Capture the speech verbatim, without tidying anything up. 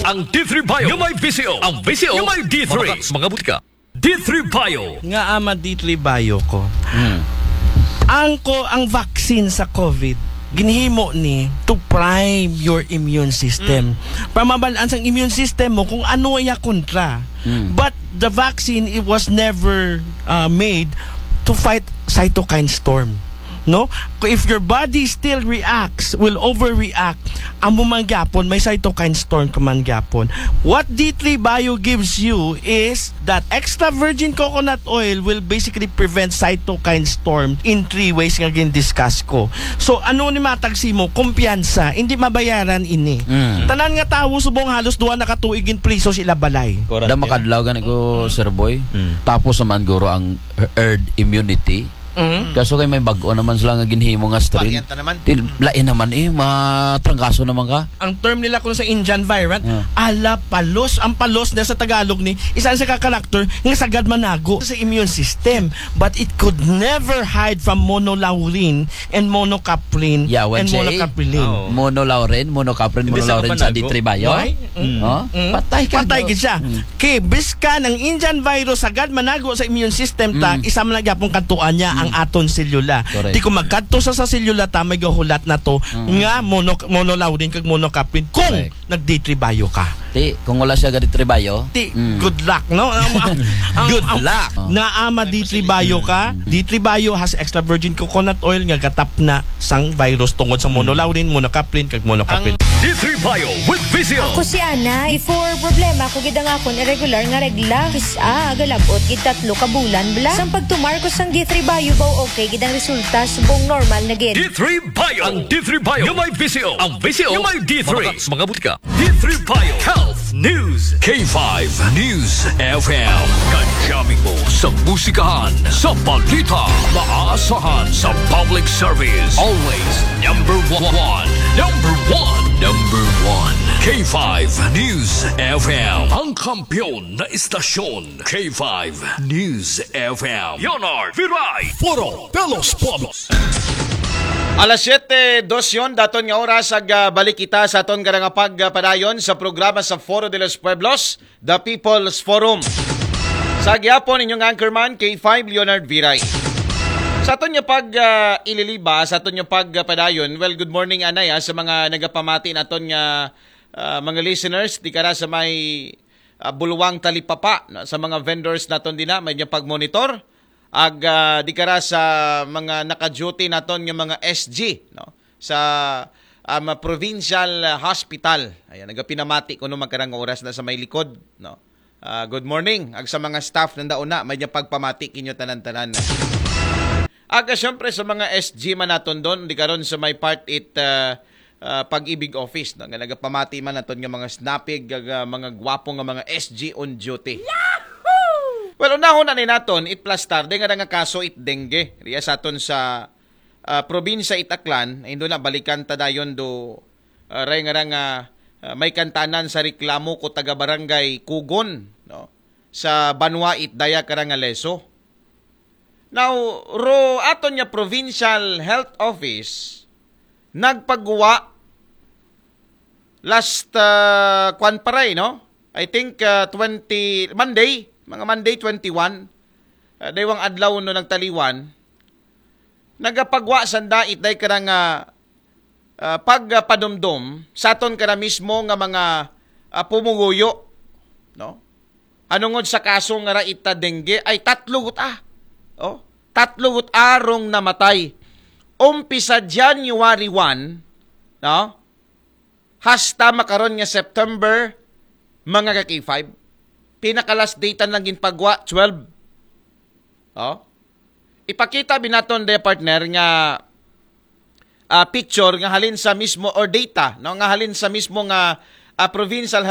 Ang D three Bio nga may V C O. Ang V C O nga may D three. Mga butika. D three Bio. Nga ama D three Bio ko. Hmm. Ang ko ang vaccine sa COVID ginhimo ni to prime your immune system. Mm. Pamabalaan sang immune system mo kung ano iya kontra. Mm. But the vaccine, it was never uh, made to fight cytokine storm. No? If your body still reacts, will overreact, amo man gyapon, may cytokine storm ka man gyapon. What D three Bio gives you is that extra virgin coconut oil will basically prevent cytokine storm in three ways nga gin-discuss ko. So, ano ni matag simo? Kumpiyansa, hindi mabayaran ini. Mm. Tanan nga tawo subong halos duha na ka tuig in priso sila balay. Da makadlaw gani ko, Sir Boy. Mm. Tapos naman guro ang herd immunity. Mm. Kaso kay may bag-o naman sila nga ginhimo nga strain. Variant na naman. Til, lain naman eh, matrangkaso naman ka. Ang term nila kung sa Indian variant, yeah. Ala palos. Ang palos na sa Tagalog ni, isa sa ka-character nga sagad manago sa immune system. But it could never hide from monolaurin and monocaprin. Yeah, and monocaprin. Oh. Monolaurin, monocaprin, monolaurin sa D three Bio. Why? Mm. Oh? Mm. Patay ka. Patay gid siya. Mm. Kay biskan ang Indian virus sagad manago sa immune system ta, mm, isa man gyapon kadtuan niya ang aton selula. Correct. Di ko magkadto sa sa selula ta may gahulat na to nga mono, monolaurin kag monocaprin kung nag-D three Bio ka. Ti, kung wala siya ga-D three Bio. Ti, mm, good luck, no? Ang, ang, good ang, luck. Naama D three Bio ka. D three Bio has extra virgin coconut oil nga gatap na sang virus tungod sa monolaurin, monocaprin, kag monocaprin. D three Bio with Vizio. Ako si Ana. Before, problema ko gid ang akon irregular nga regla. Kis-a, galab-ot gid tatlo ka bulan bala. Sang pagtumar ko sang D three Bio, baw okay gid ang resulta, subong normal na gid. D three Bio. Ang D three Bio nga may Vizio. Ang Vizio nga may D three. Mga, mga butika. D three Bio Health News. K five News F M. Kajamming mo sa musikahan, sa balita, maaasahan sa public service. Always number one. Number one. Number one. K five News F M. Ang kampiyon na istasyon. K five News F M. Leonard Viray. Foro de los Pueblos. Alas siyete dos yon, daton nga oras ag, ah, balik kita sa aton karang pagpadayon sa programa sa Foro de los Pueblos, The People's Forum. Sa gihapon, inyong anchorman, K five Leonard Viray. Sa aton nga pag, ah, ililiba, sa aton nga pagpadayon, well, good morning, anay, ah, sa mga nagapamati naton nga, ah, mga listeners, di kara sa may, ah, Buluwang Talipapa, no? Sa mga vendors naton dina, may nga pagmonitor. Ag, ah, di kara sa mga naka-duty naton nga mga S G, no? Sa, um, Provincial Hospital. Ayan, nagapinamati ko no magkarang oras na sa may likod, no? Ah, good morning. Ag sa mga staff nanda una, may niya pagpamati kinyo tanan-tanan. Ag, ah, syempre sa mga S G man naton don, di karon sa may part it, ah, ah, Pag-ibig Office, no? Nga nagapamati man naton nga mga snapig, ag, ah, mga gwapo nga mga S G on duty. Well, unahon na ni naton, it plus tarde nga nga kaso it dengue. Riya sa aton sa, ah, probinsya it Aklan, ay indo na balikan ta dayon do, ah, ray nga nga, ah, may kantanan sa reklamo ko taga barangay Kugon, no? Sa banwa it daya kara nga Leso. Now, ro aton nga provincial health office nagpagwa last, ah, kwan pa ray, no? I think, ah, twenty, Monday, mga Monday twenty-one, ah, daywang adlaw no nagtaliwan, nagapagwa sanda it day karang, ah, ah, pagpadumdum sa aton kara mismo nga mga, ah, pumuguyo, no? Anungod sa kaso nga ra ita dengue ay tatlo guta. Oh, tatlo guta rong namatay. Umpisa January one, no? Hasta makaron nga September, mga ka K five. Pinaka last data lang ginpagwa, twelve. Oh. Ipakita binaton de partner nga, ah, picture nga halin sa mismo or data, no, nga halin sa mismo nga, ah, provincial